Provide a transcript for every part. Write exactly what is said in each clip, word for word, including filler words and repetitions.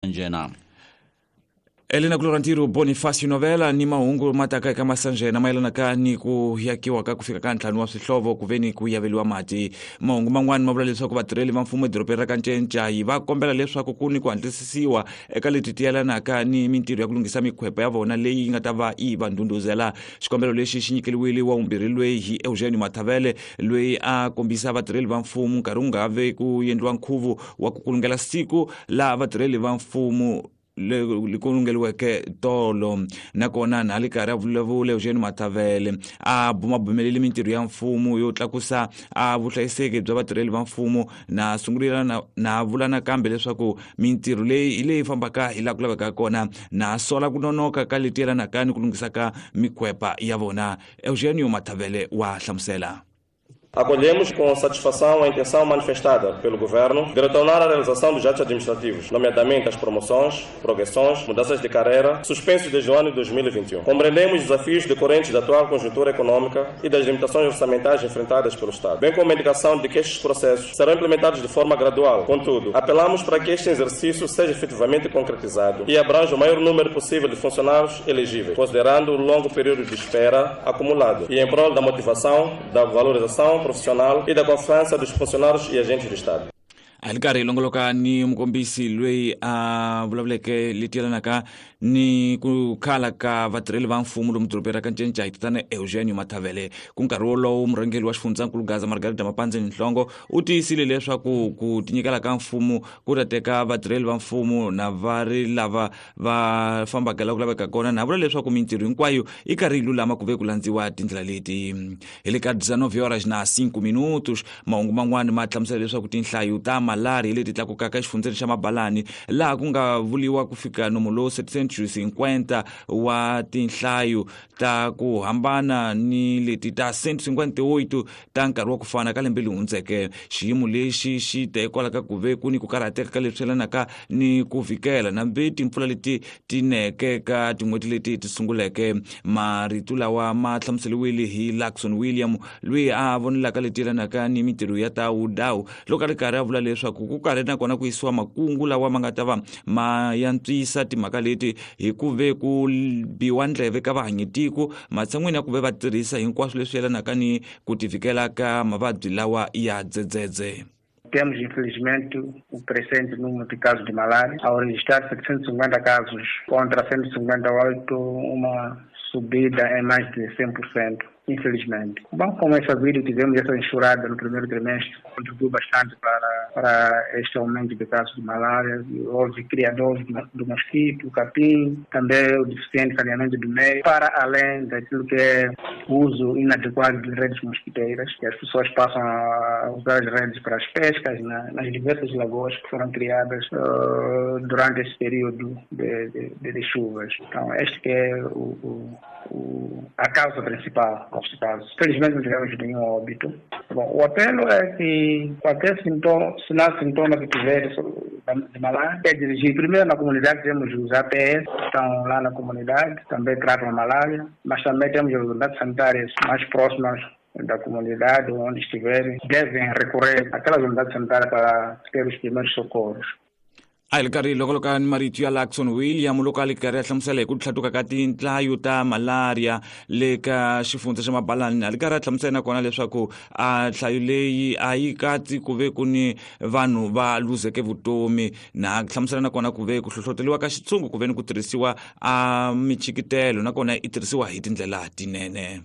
Njena. Elena Kulorantiro Bonifacio Novela ni mahungu mataka eka Masanjena mayelana ka ni ku yakiwa ka ku fika ka ntlhanu wa swihlovo ku ve ni ku yaveliwa mati. Mahungu man'wani ma vula leswaku vatirheli va mfumo edorobeni ra Kanchenchayi va kombela leswaku ku ni ku hatlisisiwa eka leti ti yelanaka ni mintirho ya ku lunghisa mikhwepa ya vona leyi yi nga ta va yi va ndhundhuzela. Xikombelo lexi xi nyikeliwile wa vumbirhi loyi hi Eugênio Mathavele loyi a kombisa vatirheli va mfumo nkarhi wu nga ve ku endliwa nkhuvo wa ku kulungela siku laha vatirheli va mfumo le ku lungeliweke tolo. Nakona na le karhi a vulavula Eugênio Mathavele a bumabumelile mintirho ya mfumo yo tlakusa a vuhlayiseki bya vatirheli va mfumo na sungulila na, na vula nakambe leswaku mintirho leyi hi leyi fambaka hi laha ku lavekaka kona na sola ku nonoka ka leti yelanaka ni ku lunghisa ka mikhwepa ya vona. Eugênio Mathavele wa hlamusela. Acolhemos com satisfação a intenção manifestada pelo Governo de retornar à realização dos atos administrativos, nomeadamente as promoções, progressões, mudanças de carreira, suspensos desde o ano de dois mil e vinte e um. Compreendemos os desafios decorrentes da atual conjuntura econômica e das limitações orçamentais enfrentadas pelo Estado, bem como a indicação de que estes processos serão implementados de forma gradual. Contudo, apelamos para que este exercício seja efetivamente concretizado e abranja o maior número possível de funcionários elegíveis, considerando o longo período de espera acumulado e em prol da motivação, da valorização profissional e da confiança dos funcionários e agentes do Estado. A li karhi longoloka ni mukombisi loyi a vulavuleke leti yelanaka ni ku khala ka vatirheli va mfumo lomu dorobeni ra Kanchenchayi tatana Eugênio Mathavele. Ku nkarhi wolowo murhangeri wa xifundzankulu Gaza Margarida Mapandzeni Nhlongo u tiyisile leswaku ku tinyikela ka mfumo ku ta teka vatirheli va mfumo na va ri lava va fambaka laha ku laveka kona, na vula leswaku mintirho hinkwayo yi karhi yi lulama ku ve ku landziwa tindlela leti. Hi le ka dezenove horas na cinco minutos mahungu man'wani ma hlamusela leswaku tinhlayo ta malaria leti tlakukaka exifundzeni xa Mabalani laha ku nga vuliwa ku fika nomo lowu setecentos cinquenta wa tinhlayo ta ku hambana ni leti ta cento e cinquenta e oito ta nkarhi wa ku fana ka lembe leri hundzeke. Xiyimo lexi xi ta hikwalaho ka ku ve ku ni ku karhateka ka leswi yelanaka ni ku vikela nambi timpfula leti ti neke ka tin'hweti leti ti sunguleke. Marito lawa ma hlamuseriwile hi Luxon William loyi a vonelaka leti yelanaka ni mintirho ya ta wudawu loko a ri karhi a vula leswaku ku karhi nakona ku yisiwa makungu lawa ma nga ta va ma yantswisa timhaka leti hi ku ve ku biwa ndleve ka vahanyitiko matshan'wini ya ku ve va tirhisa hinkwaswo leswi yelanaka ni ku tivikela ka mavabyi lawa ya dzedzedze. Temos, infelizmente, o crescente número de casos de malária. Ao registrar setecentos e cinquenta casos contra cento e cinquenta e oito, uma subida em mais de cem por cento, infelizmente. Bom, como é sabido, tivemos essa enxurrada no primeiro trimestre, contribuiu bastante para, para este aumento de casos de malária. Houve criadores do mosquito, capim, também o deficiente saneamento do meio, para além daquilo que é o uso inadequado de redes mosquiteiras, que as pessoas passam a usar as redes para as pescas na, nas diversas lagoas que foram criadas uh, durante esse período de, de, de chuvas. Então, este que é o, o, o, a causa principal neste caso. Felizmente não tivemos nenhum óbito. Bom, o apelo é que qualquer sintoma, sinal, sintoma que tiver de malária, é dirigir primeiro na comunidade. Temos os A P S que estão lá na comunidade, também tratam a malária, mas também temos as unidades sanitárias mais próximas da comunidade, onde estiverem, devem recorrer àquelas unidades sanitárias para ter os primeiros socorros. A hi karhi loko ni marito ya Luxon William loko a li karhi a hlamusela hi ku tlhatuka ka tinhlayo ta malaria le ka xifundza xa Mabalani. A li karhi a hlamusela nakona leswaku a nhlayo leyi a yi katsi ku ve ku ni vanhu va luzeke vutomi, na hlamusela nakona ku ve ku hlohloteriwa ka xitshungu ku ve ni ku tirhisiwa a michikitelo nakona yi tirhisiwa hi tindlela tinene.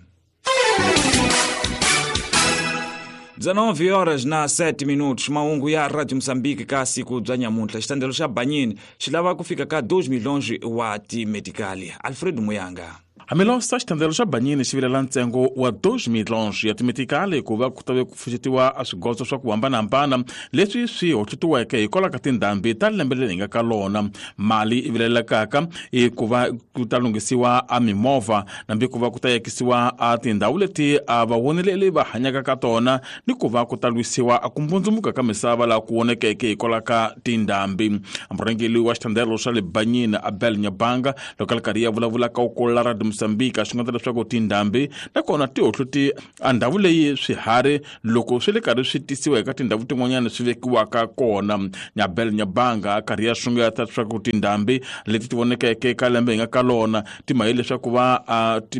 dezenove horas na sete minutos, mahungu ya Radio Moçambique ka siku bya nyamuntlha. Xitandelo xa Banyini xi lava ku fika ka dois milhões wa timedikali. Alfred Muyanga. Hambiloko xitandelo xa Banyini xi vilela ntsengo wa dois milhões ya timetikali ku va ku tave ku pfuxetiwa a swigodzo swa ku hambanahambana leswi swi hoxetiweke hikwalaho ka tindhambi ta lembe leri hi nga ka lona. Mali yi vilelekaka i ku va ku ta lunghisiwa a mimovha nambi ku va ku ta yakisiwa a tindhawu leti a vawoneleli va hanyaka ka tona ni ku va ku ta lwisiwa a ku mbundzumuka ka misava laha ku vonekeke hikwalaho ka tindhambi. Murhangeri wa xitandelo xa le Banyini Abel Nyabanga loko a ri karhi ya vulavula ka ku la Radio Moçambique a xungeta leswaku tindhambi nakona ti hohloti a ndhawu leyi swiharhi loko swi le karhi swi tisiwa eka tindhawu tin'wanyana swi vekiwaka kona. Abel Nyabanga a karhi ya xungeta leswaku tindhambi leti ti vonekeke eka lembe hi nga ka lona ti mahi leswaku va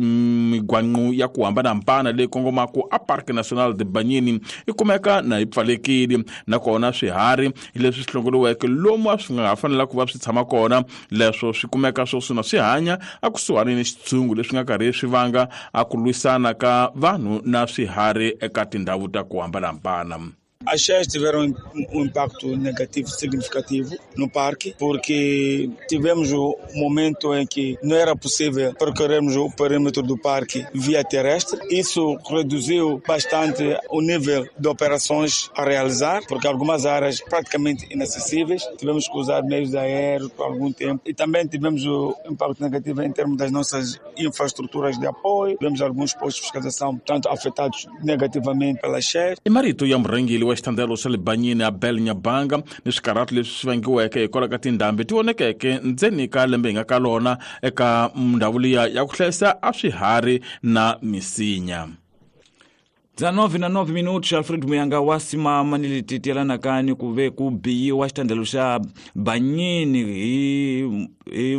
migwanqu ya ku hambanahambana leyi kongomaka a Parque Nacional de Banyini yi kumeka na yi pfalekile, nakona swiharhi leswi swi hlongoriweke lomu a swi nga ha fanela ku va swi tshama kona leswo swi kumeka swoswi na swi hanya a kusuhani ni xitshungu leswi nga karhi swi vanga a ku lwisana ka vanhu na swiharhi eka tindhawu ta ku hambanahambana. As cheias tiveram um impacto negativo significativo no parque, porque tivemos o momento em que não era possível percorrermos o perímetro do parque via terrestre. Isso reduziu bastante o nível de operações a realizar, porque algumas áreas praticamente inacessíveis, tivemos que usar meios aéreos por algum tempo. E também tivemos o impacto negativo em termos das nossas infraestruturas de apoio. Tivemos alguns postos de fiscalização, tanto afetados negativamente pelas cheias. E marito ya murhangeri wa xitandelo xa le Banyini Abel Nyabanga ni swikarhati leswi swi vangiweke hikwalaho ka tindhambi ti vonekeke ndzeni ka lembe hi nga ka lona eka ndhawu liya ya ku hlayisa a swiharhi na misinya. dezenove na nove minutos. Alfred Muyanga wa simama ni leti tiyelanaka ni ku ve ku biyiwa xitandelo xa Banyini hi hi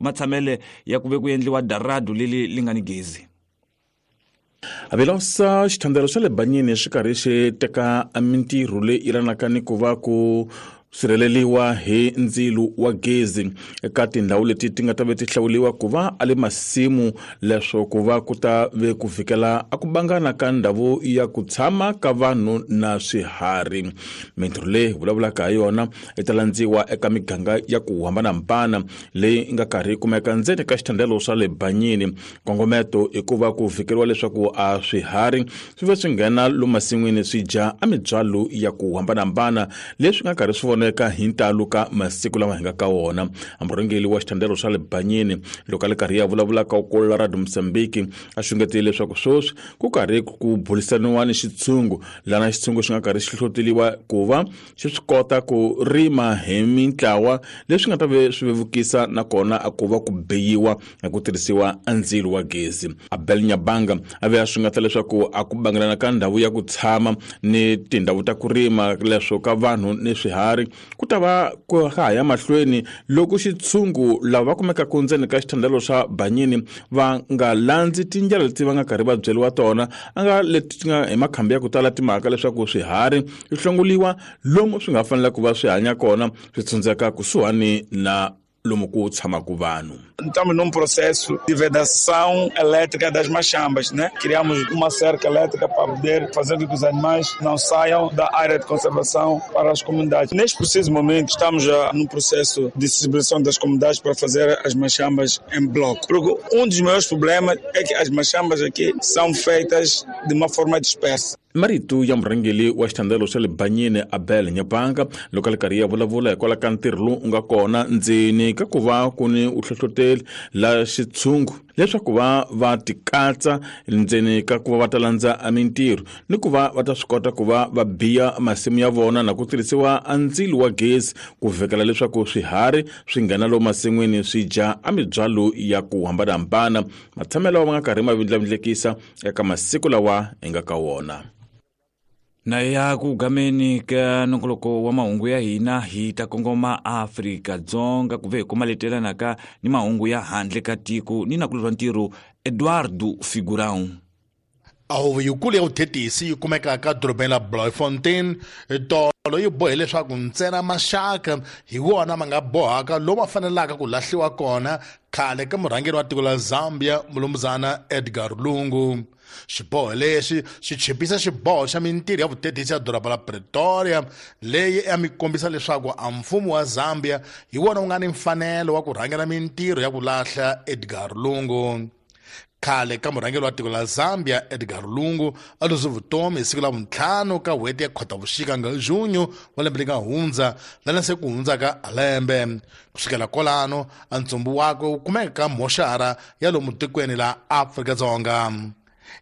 matshamele ya ku ve ku endliwa daradu leli li nga ni gezi. Avilosa xitandelo xa le Banyini xi karhi xi teka mintirho leyi yelanaka ni ku va ku sirheleliwa hi ndzilu wa gezi eka tindhawu leti ti nga ta ve ti hlawuliwa ku va a le masimu leswo ku va ku ta ve ku fikela a ku bangana ka ndhawu ya ku tshama ka vanhu na swiharhi. Mintirho leyi vulavulaka hi yona yi ta landziwa eka miganga ya ku hambanahambana leyi nga karhi yi kumeka ndzeni ka xitandelo swa le Banyini. Nkongometo i ku va ku fikeriwa leswaku a swiharhi swi ve swi nghena lomu masin'wini swi dya a mibyalo ya ku hambanahambana leswi nga karhi swi vona eka hi ntalo ka masiku lama hi nga ka wona. Murhangeri wa xitandelo xa le Banyini loko a le karhi ya vulavula ka ku Radio Moçambique a xungetile leswaku sweswi ku karhi ku burisaniwa ni xitshungu lana xitshungu xi nga karhi xi hlohloteliwa ku va xi swi kota ku rima hi mintlawa leswi nga ta ve swi vevukisa nakona a ku va ku beyiwa hi ku tirhisiwa a ndzilo wa gezi. Abel Nyabanga a ve a xungeta leswaku a ku bangelana ka ndhawu ya ku tshama ni tindhawu ta ku rima leswo ka vanhu ni swiharhi ku ta va ku ha ya mahlweni loko xitshungu lava va kumekaka ndzeni ka xitandelo xa Banyini va nga landzi tindlela leti va nga karhi va byeriwa tona a nga leti ti nga hi makhambi ya ku tala timhaka leswaku swiharhi swi hlongoliwa lomu swi nga fanela ku va swi hanya kona swi tshundzeka kusuhani na lomu ku tshamaka vanhu. Estamos num processo de vedação elétrica das machambas, né? Criamos uma cerca elétrica para poder fazer com que os animais não saiam da área de conservação para as comunidades. Neste preciso momento, estamos já num processo de sensibilização das comunidades para fazer as machambas em bloco. Porque um dos maiores problemas é que as machambas aqui são feitas de uma forma dispersa. Marito ya murhangeri wa xitandelo xa le Banyini Abel Nyabanga loko a le karhi ya vulavula hikwalaho ka ntirho lowu nga kona ndzeni ka ku va ku ni u hlohloteli la xitshungu leswaku va va tikatsa ndzeni ka ku va va ta landza mintirho ni ku va va ta swi kota ku va va biya masimu ya vona na ku tirhisiwa a ndzilo wa gezi ku vhekela leswaku swiharhi swi nghena lomu masin'wini swi dya a mibyalo ya ku hambanahambana matshamelo ma nga karhi ma vindlavindlekisa eka masiku lawa hi nga ka wona. Na ya ku gameni ka nongoloko wa mahungu ya hina hi ta kongoma Afrika-Dzonga ku ve hi kuma letelanaka ni mahungu ya handle ka tiko ni nakulorwa ntirho Eduardo Figurão. A huvo yikulu ya vuthetisi yi kumekaka dorobeni la Bloemfontein tolo yi bohe leswaku ntsena maxaka hi wona ma nga bohaka lomu ma fanelaka ku lahliwa kona khale ka murhangeri wa tiko la Zambia mulumuzana Edgar Lungu. Xiboho lexi xi chipisa xiboho xa mintirho ya vuthetisi ya doroba la Pretoria leyi ya mi kombisa leswaku a mfumo wa Zambia hi wona wu nga ni mfanelo wa ku rhangela mintirho ya ku lahla Edgar Lungu. Khale ka murhangeri wa tiko la Zambia Edgar Lungu a luze vutomi hi siku la vuntlhanu ka n'hweti ya Khotavuxika nga junho wa lembe leri nga hundza lana se ku hundzaka lembe. Kusukela kwalano a ntsumbu wakwe wu kumeka ka moxara ya lomu tikweni la Afrika-Dzonga.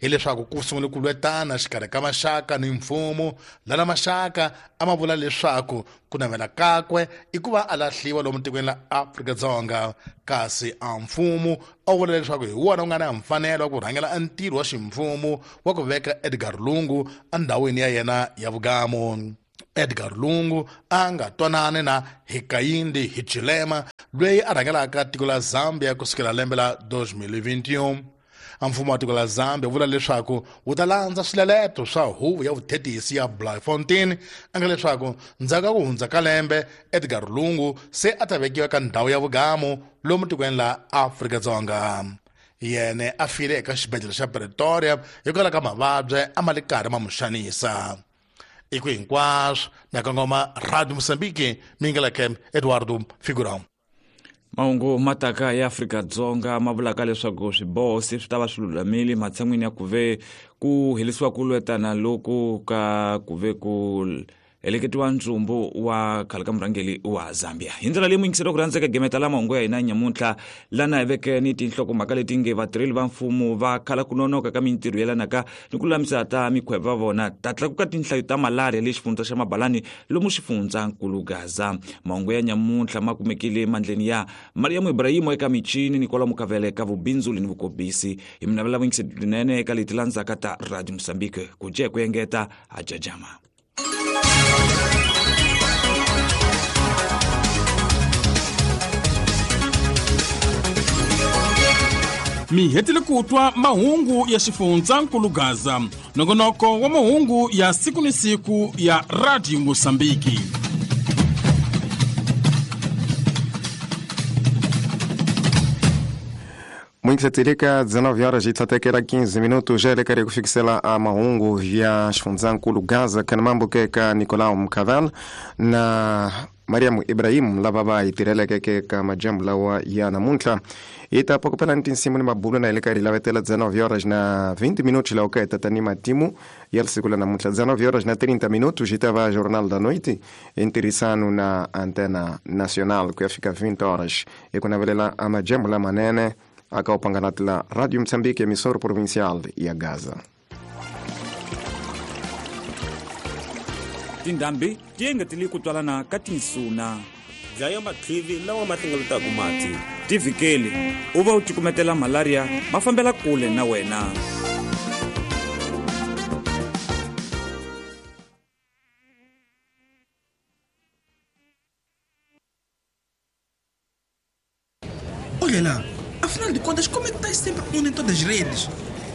Hileswaku ku sungule ku lwetana xikarhi ka maxaka ni mfumo, lana maxaka a ma vula leswaku ku navela kakwe i ku va a lahliwa lomu tikweni la Afrika-Dzonga, kasi a mfumo a vula leswaku hi wona wu nga na mfanelo wa ku rhangela ntirho wa ximfumo wa ku veka Edgar Lungu endhawini ya yena ya vugamu. Edgar Lungu a nga twanani na Hakainde Hichilema loyi a rhangelaka tiko la Zambia kusukela lembe la twenty twenty-one. Mfumo wa tiko la Zambia vula leswaku wu ta landza swileleto swa huvo ya vuthetisi ya Bloemfontein, a nga leswaku ndzhaku ka ku hundza ka lembe Edgar Lungu se a ta vekiwa ka ndhawu ya vugamu lomu tikweni la Afrika-Dzonga. Yena a file eka xibedhlele xa Pretoria hikwalaho ka mavabyi a ma le karhi ma n'wi xanisa. I ku hinkwaswo na kongoma Radio Mozambique, mingeleke Eduardo Figurão. Mahungu mataka ya Afrika-Dzonga ma vulaka leswaku swiboho se swi ta va swi lulamile matshan'wini ya ku ve ku herisiwa ku lwetana loku ka ku ve ku heleketiwa ntsumbu wa khale ka murhangeri wa Zambia. Hi ndlela leyi muyingiseri ku rhandzeka gemeta la mahungu ya hina nyamuntlha lana hi veke ni tinhlokomhaka leti nge vatirheli va mfumo va khala ku nonoka ka mintirho yelanaka ni ku lulamisa ta mikhwevo va vona ta tlakuka tinhlayo ta malaria le xifundza xa Mabalani lomu xifundzankulu Gaza. Mahungu ya nyamuntlha ma kumekile emandleni ya Mariam Ibrahim eka michini ni kwalomu ka vele ka vubindzuli ni vukobisi. Hi mi navela vuyingiseri byinene eka leti landzaka ta Radio Mozambique ku je ku engeta a jajama. Mi hetile ku twa mahungu ya xifundzankulu Gaza, nongonoko wa mahungu ya siku ni siku ya Radio Mozambique. Mwingiseteleka dezenove horas e tsatekela quinze minutos jelekare kufikisela a mahungu ya xifundzankulu Gaza kana mambo keka Nicolau Mkavel na Mariam Ibrahim lava va hi tirheleke ka majambu lawa ya namuntlha. Hi ta pokopela ni tinsimu ni mabulo na ileka ri lavetela dezenove horas na vinte minutos lawa ka tata ni matimu ya siku la namuntlha. Dezenove horas na trinta minutos hi ta va Jornal da Noite ntirhisano na Antena Nacional ku ya fika vinte horas hi ku navelela a majambu lamanene aka upanganati la Radio Mozambique, emissora provincial ya Gaza. Tindhambi ti engetele ku twalana ka tinsuna, dlaya matlivi lawa ma hlengeletaka mati, ti vhikeli u va u cukumetela malaria ma fambela kule na wena. Olha lá, afinal de contas, como é que estás sempre on em todas as redes?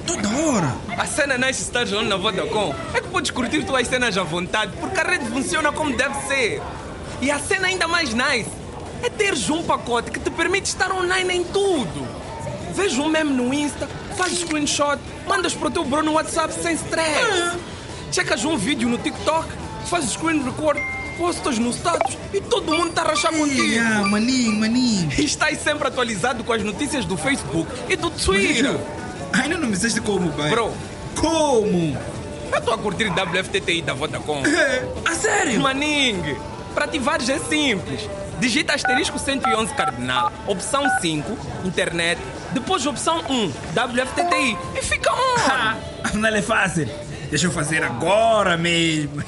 Toda hora! A cena nice estás on na Vodacom é que podes curtir tuas cenas à vontade, porque a rede funciona como deve ser. E a cena ainda mais nice é teres um pacote que te permite estar online em tudo. Vês um meme no Insta, fazes screenshot, mandas para o teu bro no WhatsApp sem stress. Ah. Checas um vídeo no TikTok, fazes screen record, postas no status e todo mundo está a rachar contigo. Ah, maninho, maninho. E estás sempre atualizado com as notícias do Facebook e do Twitter. Ainda não me disseste como, pai. Bro. Como? Eu estou a curtir W F T T I da Vodacom. A sério? Maningue, para ativares é simples. Digita asterisco cento e onze cardinal, opção cinco, internet, depois opção um, W F T T I e fica on. Não é fácil. Deixa eu fazer agora mesmo.